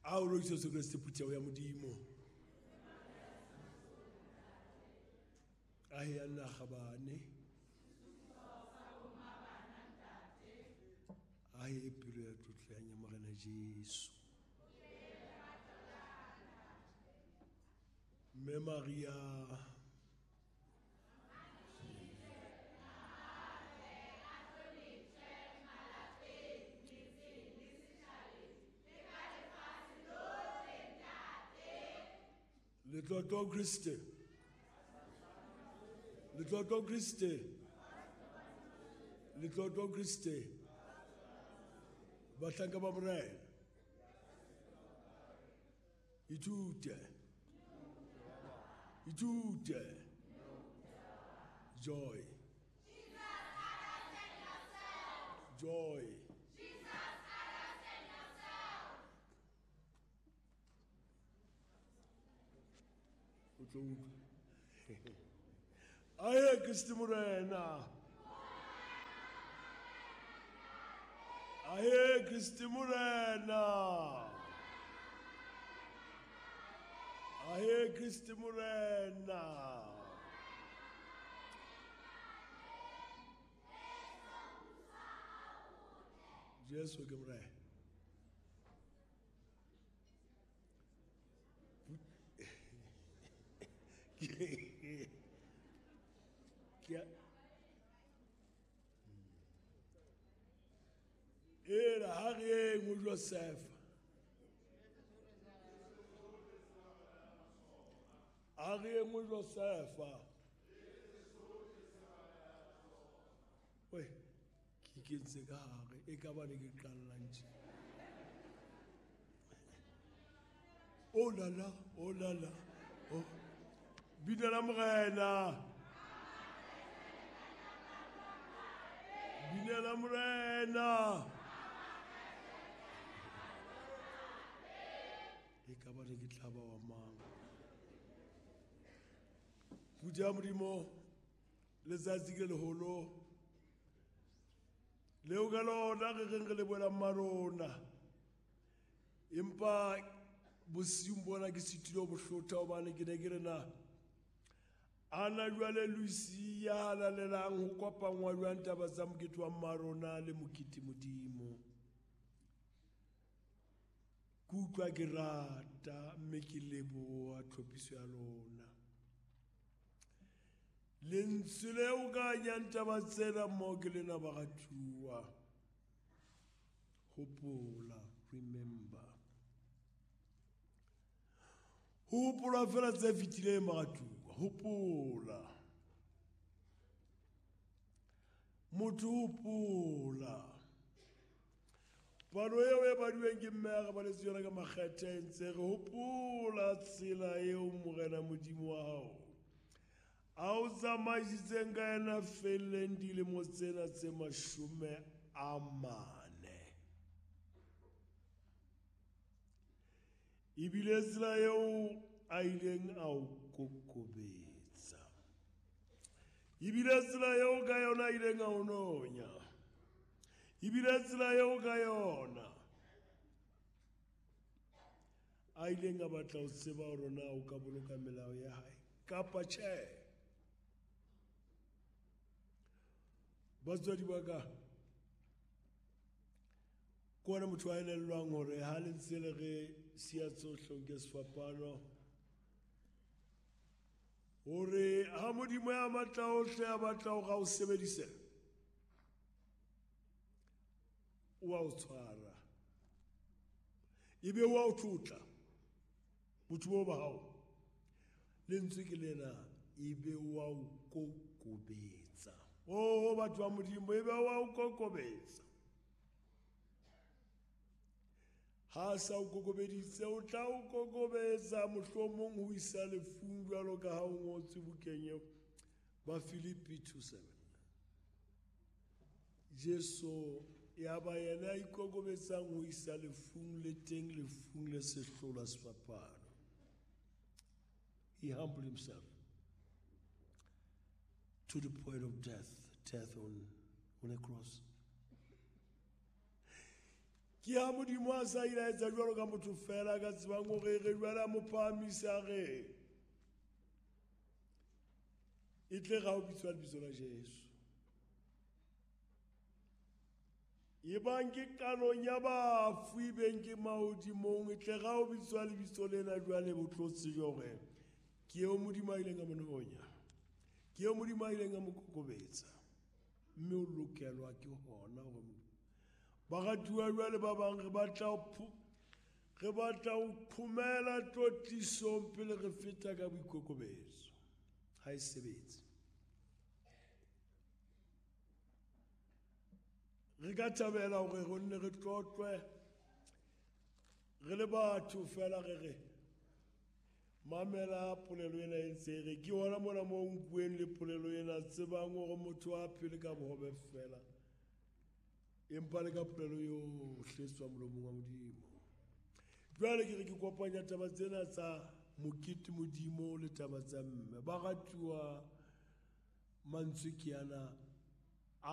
A o roriswe Jesu Kreste phutheho ya Modimo. A he nna kgabane. A he pelo ya tlotlo ya Morena Jesu. Mme Maria Letlotlo Kriste. Letlotlo Kriste. Letlotlo Kriste. Bahlanka ba Morena. Ithute. Ithute. Joy. Joy. O tlo utlwa. Aye Kriste Morena. Aye Kriste Morena. Aye Kriste Morena. Jesu ke Morena. Era ha re eng o Joseph. Ha re eng o Joseph. We ke kentse ka hare e ka ba ne ke qallang tje. Oh la la, oh la la. Oh. Bina la Morena. Bina la Morena. E ka ba ne ke tla ba wa mang. Phutheho ya Modimo, letsatsi ke leholo leo ka lona re reng re lebohela mmarona. Empa bosiung bona ke sitile ho bohlotha hobane ke ne ke re na ana jwale Lucy ya halalelang ho kopangwa jwang taba tsa mokete wa mmarona le mokete Modimo. Ke utlwa ke rata mme ke leboha tlhophiso ya lona. Lentswe leo ka nyang taba tsena mo ke lena baratuwa. Hopola, remember. Hopola fela tse fetileng baratuwa. Hopola. Motho hopola. Palo eo e baduweng ke mme a re baletse yona ka makgethe e ntse re hopola tsela eo Morena Modimo wa hao a o tsamaisitseng ka yena felleng dilemo tsena tse 40. Ebile tsela eo a ileng a o kokobetsa. Ebile tsela eo ka yona a ileng a o nonya. Ebile tsela eo ka yona a ileng a batla ho tseba hore na o ka boloka melao ya hae kapa tjhe. Batswadi ba ka, ke ona motho a elellwang hore ha le ntse le re siya tsohle o nke sefapano, hore ha Modimo ya matla ohle a batla hore a o sebedise, o a o tshwara ebe o a o tlotla botho bo ba hao. Lentswe ke lena, ebe o a o kokobetsa. Oh, batho ba Modimo, ebe o a o kokobetsa. Ha sa o kokobeditse, o tla o kokobetsa mohlomong ho isa lefung jwalo ka ha o ngotswe bukeng eo ba Filipi 2:7. Jesu ya ba yena a ikokobetsang ho isa lefung le teng lefung le sehlola sefapano. He humbled himself to the point of death, death on a cross. Ke ha Modimo a sa ile a etsa jwalo ka motho fela ka tsebang hore re jwale a mo phahamisa re e tle ga o bitswa lebitso la Jesu. E bang ke qalong ya bafu e beng ke mahodimong e tle ga o bitswa lebitso lena jwale bo tlo tsejwa hore ke eo Modimo a ileng a mo nonya, ke eo Modimo a ileng a mo kokobetsa, mme o lokelwa ke hona hore baratuwa jwale ba bang re batla ho phomela tlotlisong pele re feta ka boikokobetso. Ha e sebetse. Re ka thabela hore re nne re tlotlwe re le batho fela re re mamela polelo ena e ntse re ke hona mona mo nkueng le polelo ena tsebang hore motho a phele ka bohobe fela empa le ka polelo yohle e tswang molomong wa Modimo. Jwale ke re ke kopanya taba tsena tsa mokete Modimo le taba tsa mme. Baratuwa mantswe ke ana